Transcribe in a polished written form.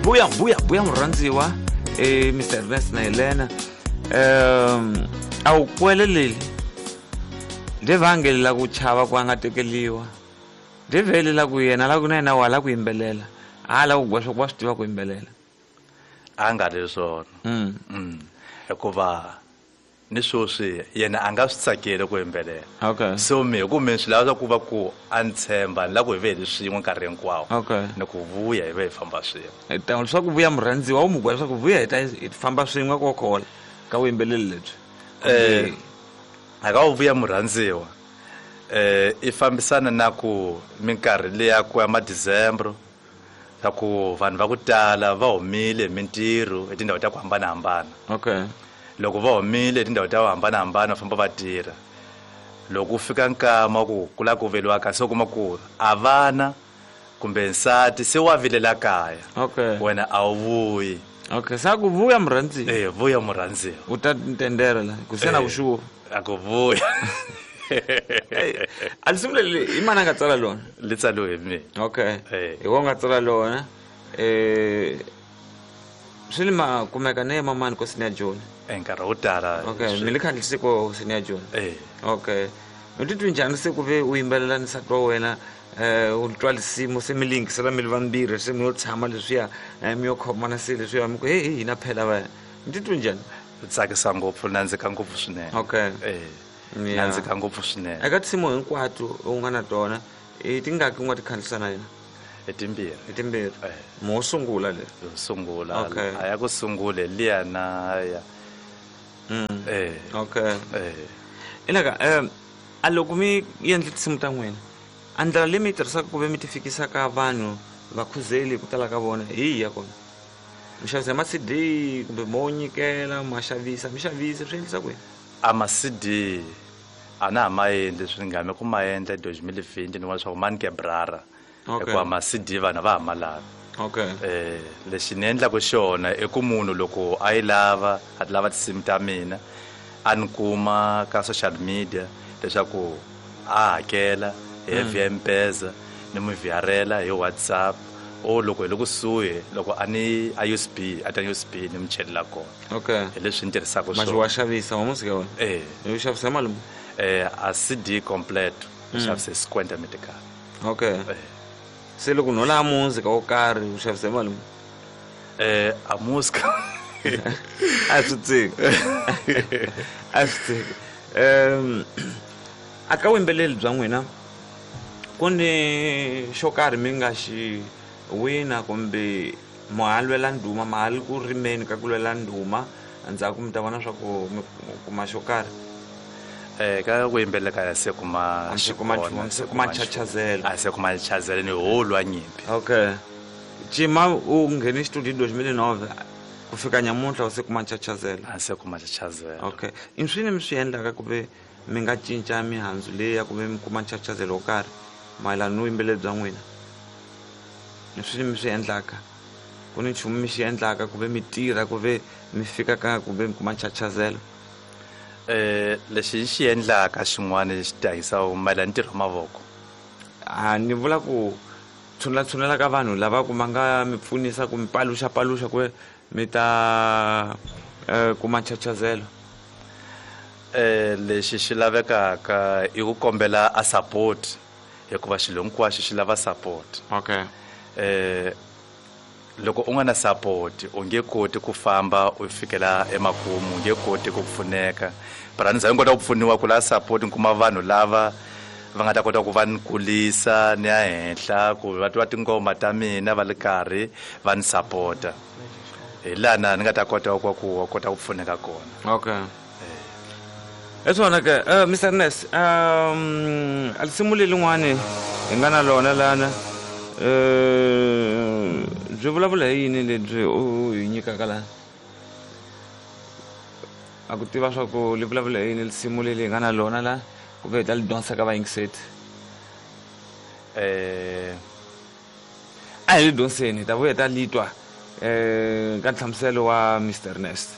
Vuya, vuya, vuya murhandziwa, Mr Ernest na Helena. A wu kweleleli nde vangelela ku chava ku a nga tekeliwa, nde velela ku yena la ku na yena wa la ku yimbelela, a la ku gwa swa ku wa swi tiva ku yimbelela. A nga ri swona. Hikuva ni sweswi yena a nga swi tsakeli ku yimbelela. So mi hi ku mi swi lava swa ku va ku a ni tshemba, ni lava ku hi ve hi ri swin'we nkarhi hinkwawo. Ni ku vuya hi ve hi famba swin'we. Hi ta leswaku vuya murhandziwa wu mu gwa leswaku vuya hi ta hi famba swin'we ko khola ka vuyimbeleri lebyi. A ka wu vuya murhandziwa, i fambisana na ku minkarhi liya ku ya ma December, swa ku vanhu va ku tala va humile hi mintirho hi tindhawu ta ku hambanahambana. Loko va humile hi tindhawu ta ku hambanahambana va famba va tirha. Loko ku fika nkama ku ku lava ku veliwa ka, se u kuma ku a vana kumbe nsati se wa vilela kaya. Wena a wu vuyi. Se a ku vuya murhandziwa. Vuya murhandziwa. U ta ntendera la, ku se na ku xuva. A ku vuya. A lisimu leri i mani a nga tsala lona? Li tsaliwe hi mina. Hi wena u nga tsala lona. Swi li ma kumeka ne mamani ko Senior Joni? Nkarhi wo tala. Mi le khandlisi ko Senior Joni? U titwi njhani se ku ve u yimbelela ni nsati wa wena, u twa lisimu se mi lingisela mi ri vambirhi, se mi yo tshama leswiya, mi yo khomana se leswiya, mi ku hey, hey, hina phela va. Mi titwi njhani? Tsakisa ngopfu, nandzika ngopfu swinene. Nandzika ngopfu swinene. Eka tinsimu hinkwato u nga na tona, i tingaki u nga ti khandziyisa na yena? I timbirhi. I timbirhi. Mo sungula le. Yo sungula. A ya ku sungule liya na ya. Ilaka, a loko mi endla tinsimu ta n'wina, a ndlela leyi mi yi tirhisaka ku ve mi ti fikisa ka vanhu vakhuzeli ku tala ka vona hi yihi ya kona? Mi xavisa ma CD kumbe mo nyikela, ma xavisa, mi xavisa swi endlisa ku yini? A ma CD a na ha ma endli, swi nga mi ku ma endla 2020 ni vona leswaku ma ni ke brara. Hikuva ma CD vanhu va ha ma lavi. Lexi ni endlaka xona i ku munhu loko a yi lava, a ti lava tinsimu ta mina, a ni kuma ka social media leswaku a hakela hi via M-Pesa, ni n'wi vhiarela hi WhatsApp, or loko hi le kusuhi, loko a ni a USB, a ta USB ni n'wi chelela kona. Hi leswi ni tirhisaka Manje swona. wa xavisa, wa musika wena? U xavisa mali muni? A CD complete, u xavisa hi 50 metical. Se loko no lava muzika wo karhi, u xavisa hi mali muni? A muzika. A swi tsiki. A swi tsiki. A ka vuyimbeleri bya n'wina, ku ni xo karhi mi nga xi wina kumbe ma ha lwela ndhuma, ma ha ri ku rimeni ka ku lwela ndhuma, endzhaku mi ta vona swa ku mi kuma xo karhi? Ka ku yimbelela ka ya se kuma A se kuma xikona, nchumu, se se kuma kuma nchumu. nchachazelo. A se kuma nchachazelo ni ho lwa nyimpi. Cima u nghene studio 2009 ku fika nyamuntlha u se kuma nchachazelo. A se kuma nchachazelo. I swini mi swi endlaka ku ve mi nga cinca mihandzu leyi ya ku ve mi kuma nchachazelo wo karhi mayelana ni vuyimbeleri bya n'wina? I swini mi swi endlaka? Ku ni nchumu mi xi endlaka ku ve mi tirha ku ve mi fika ka ku ve mi kuma nchachazelo? Lexi hi xi endlaka xin'wana lexi tihanyisaka mayelana ni ntirho wa mavoko. A ni vula ku tshunela tshunela ka vanhu lava ku va nga mi pfunisa ku mi paluxa paluxa ku mi ta kuma nchachazelo. Lexi xi lavekaka i ku kombela a support, hikuva xilo hinkwaxo xi lava support. Loko u nga na support u nge koti ku famba u fikela emakumu, u nge koti ku pfuneka. But a ni za ni kota ku pfuniwa ku lava support, ni kuma vanhu lava va nga ta kota ku va ni kulisa ni ya henhla, ku va twa tinghoma ta mina va ri karhi va ni support-a. Hi laha na ni nga ta kota ku ku kota ku pfuneka kona. Hi swona ke, Mister Ernest, a risimu lerin'wani hi nga na lona lana, byi vulavula hi yini lebyi u hi nyikaka lana? A ku tiva swa ku li vulavula hi yini risimu leri hi nga na lona la, kumbe hi ta li dyondzisa ka vayingiseri? A hi li dyondziseni, hi ta vuya hi ta li twa ka nhlamuselo wa Mister Ernest.